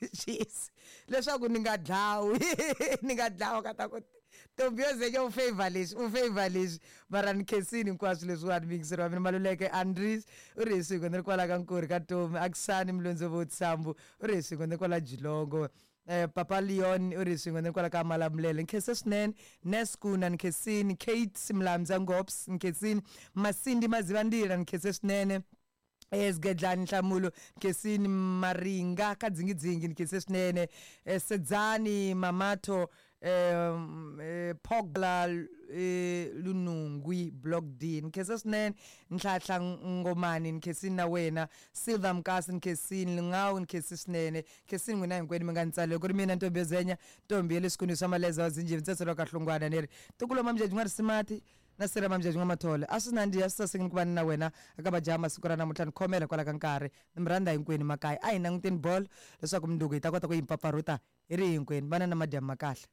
Jeez. Leswaku ni nga dlawi ni nga dlawa ka ta ku ntombi yo zenya u favor leswi u favor leswi mara ni khensini hinkwaswo leswiwani muyingiseri wa mina Maluleke Andries u ri hi swin'we ni ri kwala ka Nkurhi ka Tomi Akisani Mulondzo Tsambu u ri hi swin'we ni ri kwala Jilongo Papa Leon u ri hi swin'we ni ri kwala ka Malamulele ni khense swinene Neskuna ni khensini Kate Mlamza Ngops ni khensini Masindi Mazivandila ni khense swinene Sgedlani Nhlamulo Nkesini Maringa ka Dzingidzingi ni khense swinene Sedzani Mamatho Phogla Lunungwi Block D ni khense swinene Nhlahla Ngomani ni khensini na wena Silver Mkasi ni khensini Lungau ni khensi swinene Khensini n'wina hinkwenu mi nga ni tsalela ku ri mina Ntombi yo Zenya Ntombi ya le swikunwini swa Maleza wa Zinjini Ntsetselo wa ka Hlongwana ni ri Ntukulu wa Mamjajhi N'warisimati Na sirha Mamjajhi N'wamathole a swi nandziha swi sasekini ku va ni na wena eka majaha masiku ra namuntlha ni khomela hikwalaho ka nkarhi ni mi rhandza hinkwenu makaya a hi languteni bolo leswaku mundzuku hi ta kota ku yi mpfapfarhuta hi ri hinkwenu vana na madyambu ma kahle.